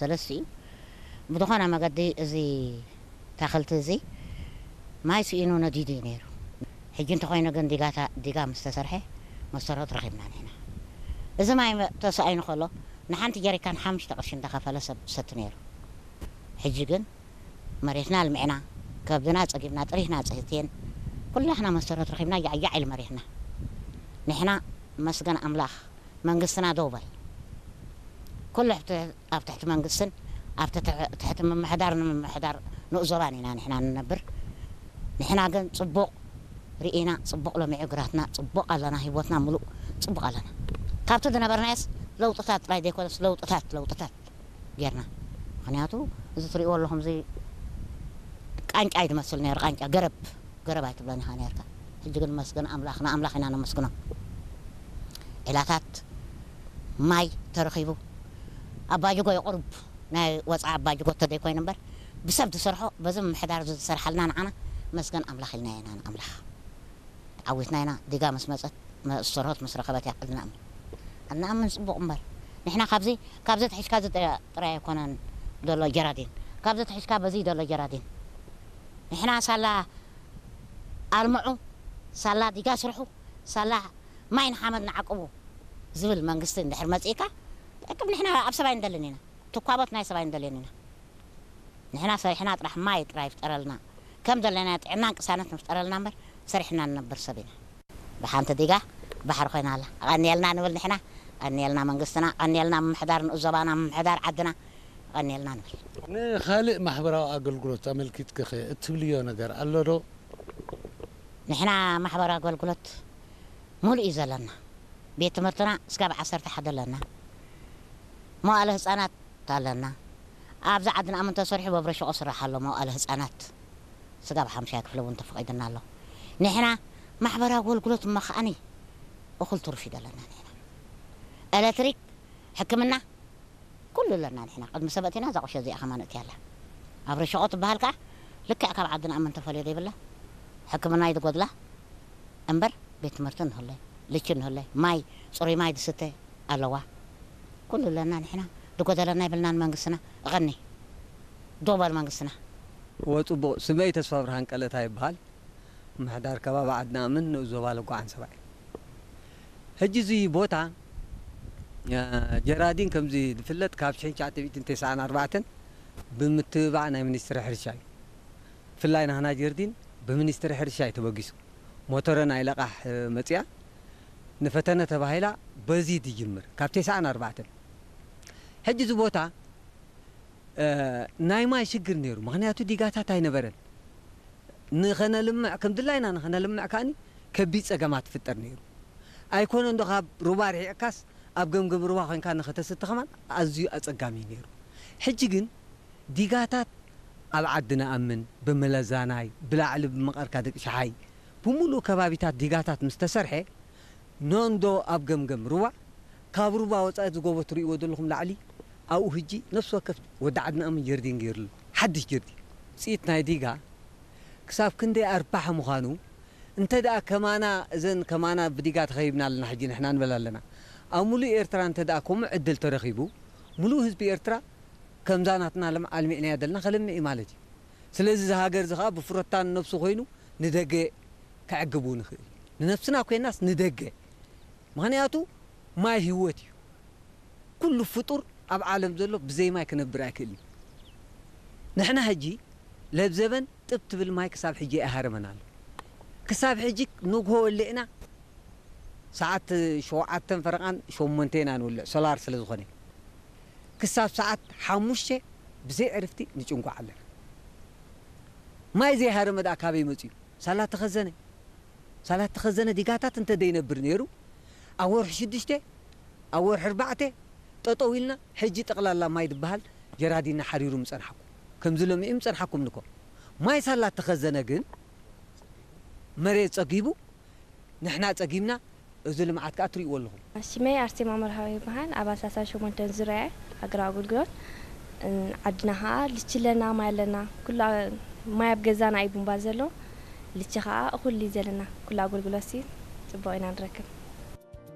ሰለስቲኡ ብዝኾነ መገዲ እዚ ታኽልቲ እዚ ማይ ስኢኑ ነዲዱ እዩ ነይሩ። ሕጂ እንተኾይኑ ግን ዲጋታ ዲጋ ምስ ተሰርሐ መሰረት ረኺብና ንሕና። እዚ ማይ መ- ተሳኢኑ ከሎ ንሓንቲ ጀሪካን ሓሙሽተ ቅርሺ እንዳኸፈለ ሰብ ሰቲ ነይሩ። ሕጂ ግን መሬትና ኣልሚዕና፣ ከብድና ጸጊብና፣ ጥሪትና ጽህቴን ኩላህና መሰረት ረኺብና ያዕያዕ ኢሉ መሬትና። ንሕና መስገን ኣምላኽ መንግስትና ደው በል። ኩሉ ሕቲ ኣብ ትሕቲ መንግስትን ኣብ ትሕ- ትሕቲ ምምሕዳር ንምምሕዳር ንኡዞባን ኢና ንሕና ንነብር። ንሕና ግን ጽቡቕ ርኢና፣ ጽቡቕ ለሚዑ ግራትና፣ ጽቡቕ ኣለና፣ ህይወትና ምሉእ ጽቡቕ ኣለና። ካብቲ ዝነበርናዮስ ለውጥታት ጥራይ ዘይኮነስ ለውጥታት ለውጥታት ጌርና። ምኽንያቱ እዚ ትሪእዎ ኣለኹም እዚ ቃንጫ እዩ ዝመስል ነይሩ፣ ቃንጫ ገረብ ገረብ ኣይትብሎን ኢኻ ነርካ። ሕጂ ግን መስገን ኣምላኽ ንኣምላኽ ኢና ነመስግኖ። ዒላታት ማይ ተረኺቡ ኣባጅጎ የቑርብ ናይ ወፃኢ ኣባጅጎ ተደይኮይኑ እምበር ብሰብ ዝሰርሖ በዚ ምምሕዳር እዚ ዝሰርሓልና ንዓና መስገን ኣምላኽ ኢልና ኢና ንኣምላኽ። ተዓዊትና ኢና። ዲጋ ምስ መፀት መእሰሮት ምስ ረኸበት እያ ዕድና እምበር። ዕድና እምን ፅቡቕ እምበር ንሕና ካብዚ ካብዚ ትሒዝካ እዚ ጥራይ ኣይኮነን ዘሎ ጀራዲን፣ ካብዚ ትሒዝካ በዚ ዘሎ ጀራዲን። ንሕና ሳላ ኣልምዑ፣ ሳላ ዲጋ ስርሑ፣ ሳላ ማይ ንሓመድ ንዓቅቡ ዝብል መንግስቲ እንድሕር መፅእካ፣ ጠቅም ንሕና ኣብ ሰባይ እንደልን ኢና፣ ትኳቦት ናይ ሰባይ እንደልን ኢና። ንሕና ሰሪሕና ጥራሕ ማይ ጥራይ ይፍጠረልና፣ ከም ዘለና ጥዕናን ቅሳነት ንፍጠረልና እምበር ሰሪሕና ንነብር ሰብ ኢና። ብሓንቲ ዲጋ ባሕሪ ኮይና ኣላ። ቀንየልና ንብል ንሕና፣ ቀንየልና መንግስትና፣ ቀንየልና ምምሕዳር ንኡስ ዞባና፣ ምምሕዳር ዓድና፣ ቀንየልና ንብል። ንኻልእ ማሕበራዊ ኣገልግሎት ኣመልኪትክኸ እትብልዮ ነገር ኣሎ ዶ? ንሕና ማሕበራዊ ኣገልግሎት ሙሉእ እዩ ዘለና። ቤት ትምህርትና እስካብ ዓሰርተ ሓደ ኣለና። መዋእለ ህፃናት ኣለና። ኣብዚ ዓድና ኣምን ተሰሪሑ በብረሸቆ ስራሕ ኣሎ መዋእለ ህፃናት። ስጋብ ሓምሻይ ክፍሊ እውን ተፈቒድና ኣሎ። ንሕና ማሕበራዊ ኣገልግሎት እሞ ከዓኒ እኹል ትሩፍ እዩ ዘለና ንሕና። ኤሌክትሪክ፣ ሕክምና፣ ኩሉ ኣለና ንሕና። ቅድሚ ሰብ ኣእቲና እዛ ቁሸ እዚኣ ከማን ኣእትያ ኣላ። ኣብ ረሸቆ ትበሃል ከኣ ልክዕ ካብ ዓድና ኣምን ተፈልዮ ዘይብላ። ሕክምና እዩ ዝጎድላ እምበር ቤት ትምህርቲ ንህለ፣ ልቺ ንህለ፣ ማይ፣ ጽሩይ ማይ ዝስተ ኣለዋ። ኩሉ ኣለና ንሕና። ዝጎደለና የብልናን መንግስትና። እቐኒ። ዶበል መንግስትና። እወ፣ ጽቡቕ። ስመይ ተስፋ ብርሃን ቀለታ ይበሃል። ምሕዳር ከባቢ ዓድና ኣምን ንኡስ ዞባ ለጓዓን ሰባይ። ሕጂ እዚ ቦታ፣ እ፣ ጀራዲን ከምዚ ዝፍለጥ ካብ ሽሕን ትሽዓተ ሚእትን ተስዓን ኣርባዕተን ብምትብባዕ ናይ ሚኒስትሪ ሕርሻ እዩ። ብፍላይ ናህና ጀርዲን ብሚኒስትሪ ሕርሻ እዩ ተበጊሱ። ሞተረ ናይ ለቓሕ፣ እ፣ መጽያ ንፈተነ ተባሂላ በዚ ትጅምር ካብ ተስዓን ኣርባዕተን። ሕጂ እዚ ቦታ፣ እ፣ ናይ ማይ ሽግር ነይሩ። ምኽንያቱ ዲጋታት ኣይነበረን። ንኸነልምዕ፣ ከም ድላይና ንኸነልምዕ ከኣኒ ከቢድ ጸገማት ይፍጠር ነይሩ። ኣይኮነን ዶ ካብ ሩባ ርሒቕካስ ኣብ ገምገም ሩባ ኮይንካ ንኸተስቲ ከማን ኣዝዩ ኣጸጋሚ እዩ ነይሩ። ሕጂ ግን ዲጋታት ኣብ ዓዲ ንኣምን፣ ብመለዛናይ፣ ብላዕሊ ብመቐርካ ደቂ ሸሓይ፣ ብምሉእ ከባቢታት ዲጋታት ምስ ተሰርሐ፣ ኖንዶ ኣብ ገምገም ሩባ፣ ካብ ሩባ ወጻኢ እዚ ጎቦ ትርእይዎ ዘለኹም ላዕሊ፣ ኣብኡ ሕጂ ነፍሲ ወከፍ ወዲ ዓዲ ንኣምን ጀርዲን ገይሩሉ። ሓድሽ ጀርዲን። ውጽኢት ናይ ዲጋ ክሳብ ክንደይ ኣርባሒ ምዃኑ፣ እንተ ደኣ ከማና፣ እዘን ከማና ብዲጋ ተኸቢብና ኣለና ሕጂ ንሕና ንበል ኣለና። ኣብ ሙሉእ ኤርትራ እንተ ደኣ ከምኡ ዕድል ተረኺቡ፣ ሙሉእ ህዝቢ ኤርትራ ከምዛ ናትና ለምዓ ኣልሚዕናያ ዘለና ከለምዕ እዩ ማለት እዩ። ስለዚ እዚ ሃገር እዚ ኸኣ ብፍረታ ንነብሱ ኮይኑ ንደገ ከዕግብ እውን ይኽእል እዩ። ንነብስና ኮይናስ ንደገ። ምኽንያቱ ማይ ህይወት እዩ። ኩሉ ፍጡር ኣብ ዓለም ዘሎ ብዘይ ማይ ክነብር ኣይክእልን እዩ። ንሕና ሕጂ ለብዘበን ጥብ ትብል ማይ ክሳብ ሕጂ ኣይሃረመን ኣሎ። ክሳብ ሕጂ ንግሆ ወሊዕና ሰዓት ሸውዓተን ፈረቓን ሸሞንተን ኢና ንውልዕ፣ ሶላር ስለ ዝኾነ። ክሳብ ሰዓት ሓሙሽተ ብዘይ ዕርፍቲ ንጭንጓዕ ኣለና። ማይ ዘይሃረመ ደኣ ካበይ መጺኡ? ሳላ ተኸዘነ። ሳላ ተኸዘነ ዲጋታት እንተ ደይነብር ነይሩ፣ ኣብ ወርሒ ሽዱሽተ፣ ኣብ ወርሒ ኣርባዕተ ጠጠው ኢልና፣ ሕጂ ጠቕላላ ማይ ዝበሃል ጀራዲንና ሓሪሩ ምጸንሓኩም። ከምዚ ለሚዑ ምጸንሓኩም ንኮ። ማይ ሳላ ተኸዘነ ግን፣ መሬት ጸጊቡ፣ ንሕና ጸጊብና፣ እዚ ልምዓት ከኣ ትርእይዎ ኣለኹም። ሽመይ ኣርሴማ መርሃዊ ይበሃል። ኣባል ሳልሳን ሸሞንተን ዙርያ እየ፣ ሃገራዊ ኣገልግሎት። እን፣ ዓድና ከኣ ልቺ ኣለና፣ ማይ ኣለና። ኩሉ ኣ-፣ ማይ ኣብ ገዛና እዩ ቡምባ ዘሎ። ልቺ ከኣ እኹል እዩ ዘለና። ኩሉ ኣገልግሎት ሲ ጽቡቕ ኢና ንረክብ።